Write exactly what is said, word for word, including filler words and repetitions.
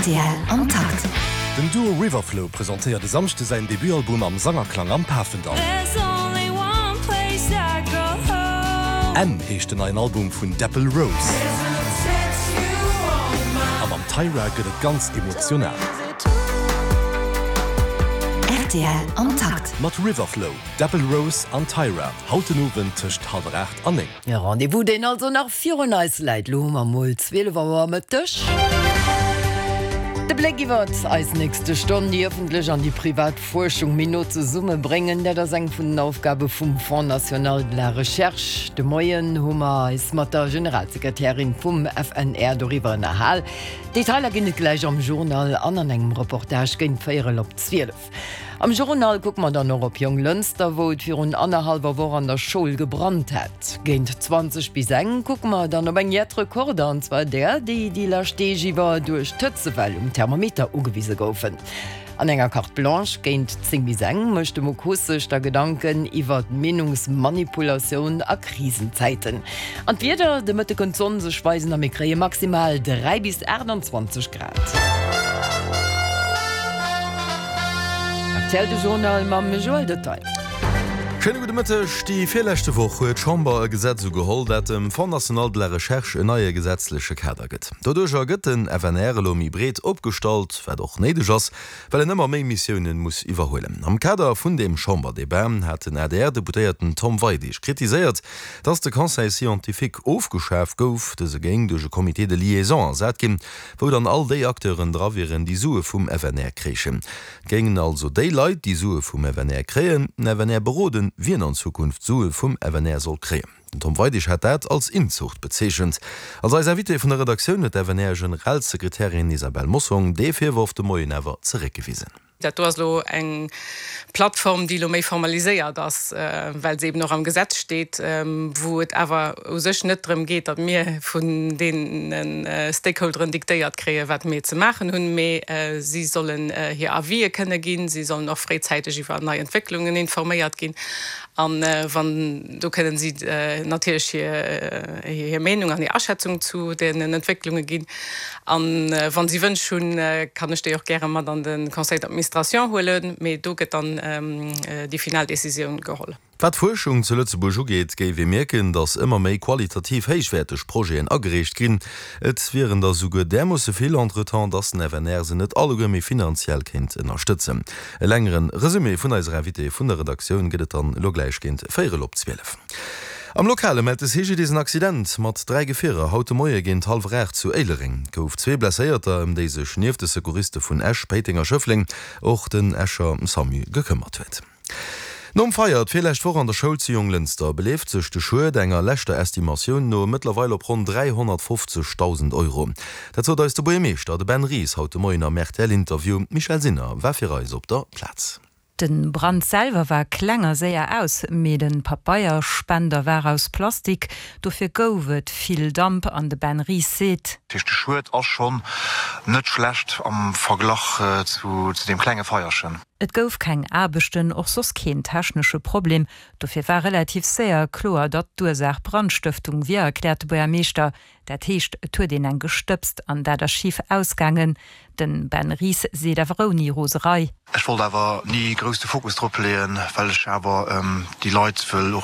Rtl am Takt. Den Duo Riverflow presentéiert e Samschde säin Debutalbum am Sangerklang am Pafendall. M heescht den neien Album vun Dapple Rose. A mam Tyra gëtt et ganz emotional. Rtl am Takt. Mat Riverflow, Dapple Rose an Tyra, haut den Owend tëscht hallwer aacht an néng. E Rendez-vous, deen also nach virun eis läit. Lo hu mer mol zwielef Auer Mëtteg. De Bléck iwwer eis nächste Stonn, déi ëffentlech an déi privat Fuerschung méi no zesummebréngen, dat ass eng vun den Aufgabe vum Fonds national de la recherche. De Moien hu mer eis mat der Generalsekretärin vum F N R doriwwer ënnerhal. Detailer ginn et gläich am Journal an an engem Reportage géint véierel op zwielef. Am Journal kucke mer dann och op Jonglënster, wou et virun annerhallwer Woch an der Schoul gebrannt hat. Géint zwanzeg bis eng kucke mer dann op eng jett Rekorder, an zwar där, déi déi lescht Deeg iwwer duerch d'Hëtzewell um Thermometer ugewise goufen. An enger Carte Blanche géint zéng bis eng mécht de Muck Huss sech da Gedanken iwwer d'Meenungsmanipulatioun a Krisenzäiten. An d'Wieder, De Mëtte kënnt d'Sonn sech weisen a mir kréie maximal dräi bis aachtanzwanzeg Grad. R T L de Journal mam Joël Detail. Schéine gudde Mëtteg. Déi virleschte Woch huet d'Chamber e Gesetz ugeholl, dat dem Fonds national de la recherche en neie gesetzleche Kader gëtt. Doduercher gëtt den F N R elo méi breet opgestallt, wat och néideg ass, well en ëmmer méi Missiounen muss iwwerhuelen. Am Kader vun deem Chamberdebat hat den A D R-Deputéierten Tom Weidig kritiséiert, datt de Conseil scientifique ofgeschaf gouf. Dëse géing duerch e Comité de liaison ersat ginn, wou dann all déi Acteuren dra wieren, déi Sue vum F N R kréichen. Et géingen also déi Leit, déi Sue vum F N R kréien, den F N R beroden, wien an Zukunft Sue vum F N R soll kréien. Den Tom Weidig hat dat als Inzucht bezeechent. Als eis Invitée vun der Redaktioun huet d'F N R-Generalsekretärin Isabelle Mossong dee Virworf de Moien awer zeréckgewisen. Dat do ass lo eng Plattform, déi lo méi formaliséiert ass, well se eben och am Gesetz steet, wou et awer u sech net drëm geet, datt mir vun deene Stakeholderen diktéiert kréien, wat mir ze maachen hunn, mee si sollen hir Avisë kënne ginn, si sollen och fréizäiteg iwwer nei Entwécklungen informéiert ginn an wann do kënnen si natierlech hir hir Meenung an hir Aschätzung zu deenen Entwécklunge ginn. An wann si Wënsch hunn, kann ech déi och gäre mat an de Conseil d'administration huelen, mee do gëtt dann déi final Decisioun geholl. Wat d'Fuerschung zu Lëtzebuerg ugeet, géif ee mierken, datt ëmmer méi qualitativ héichwäerteg Projeten agereecht ginn. Et wieren der souguer därmoosse vill entretemps, datt den F N R se net alleguer méi finanziell kéint ënnerstëtzen. E längere Resumé vun eiser Invitée vun der Redaktioun gëtt et dann elo gläich géint véierel op zwielef. Am Lokale mellt de C G D S en Accident mat dräi Gefierer haut de Moie géint hallwer aacht zu Éilereng. Et gouf zwee Blesséierter, ëm déi sech nieft de Secouriste vun Esch, Péiteng a Schëffleng och den Escher SAMU gekëmmert huet. Nom Feier d'virlescht Woch an der Schoul zu Jonglënster beleeft sech de Schued enger leschter Estimatioun no mëttlerweil op ronn dräihonnertfofzegdausend Euro. Dat sot eis de Buergermeeschter, de Ben Ries, haut de Moien am R T L-Interview. D'Michèle Sinner war fir eis op der Plaz. De Brand selwer war kleng a séier aus, mee de Pabeierspender war aus Plastik, dofir gouf et vill Damp an de Ben Ries seet: De Schued ass schonn net schlecht am Verglach zu, zu deem klenge Feierchen. Et gouf keng Aarbechten, och soss keen technesche Problem. Dofir war relativ séier kloer, datt d'Ursaach Brandstëftung wier, erkläert de Buergermeeschter. Dat heescht, et huet een eng gestëbst an dat ass schif ausgaangen. Den Ben Ries seet awer ouni Roserei. Ech wollt awer ni grouss de Fokus drop leeën, well ech awer ähm, déi Leit wëll och